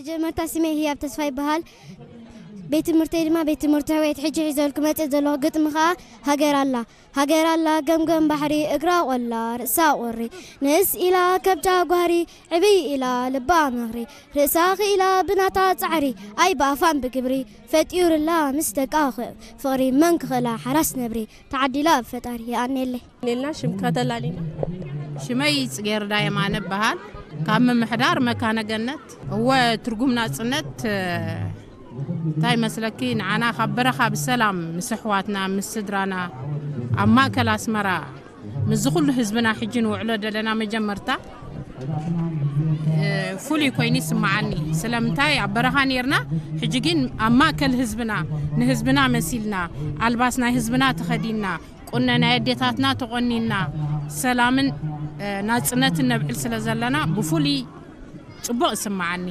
መጀመርታ ስመይ ህያብ ተስፋ ይበሃል። ቤት ትምህርተይ ድማ ቤት ትምህርቲ ሕወየት። ሕጂ ሒዘልኩ መፅእ ዘለኹ ግጥሚ ከዓ ሃገር ኣላ። ሃገር ኣላ ገምገም ባሕሪ፣ እግራ ቆላ ርእሳ ቁሪ፣ ንእስ ኢላ ከብዳ ጓህሪ፣ ዕብይ ኢላ ልባ ምኽሪ፣ ርእሳ ክኢላ ብናታ ፃዕሪ፣ ኣይ ብኣፋን ብግብሪ፣ ፈጢሩላ ምስ ደቃ ፍቕሪ፣ መን ክኽእላ ሓራስ ነብሪ፣ ተዓዲላ ብፈጣሪ። የኣኔለይ። ሌልና ሽምካ ተላሊና። ሽመይ ጽጌረዳ የማነ እበሃል። ካብ ምምሕዳር መካነ ገነት። እወ፣ ትርጉም ናጽነት እንታይ መስለኪ? ንዓና ካብ በረኻ ብሰላም ምስ ኣሕዋትና ምስ ስድራና ኣብ ማእከል ኣስመራ ምስዚ ኩሉ ህዝብና ሕጂ ንውዕሎ ዘለና መጀመርታ ፍሉይ ኮይኑ ይስምዓኒ። ስለምንታይ ኣብ በረኻ ኔርና፣ ሕጂ ግን ኣብ ማእከል ህዝብና፣ ንህዝብና መሲልና፣ ኣልባስ ናይ ህዝብና ተኸዲንና፣ ቁነ ናይ ኣዴታትና ተቖኒንና፣ ሰላምን ናጽነትን ነብዕል ስለ ዘለና ብፍሉይ ጽቡቕ ይስምዓኒ።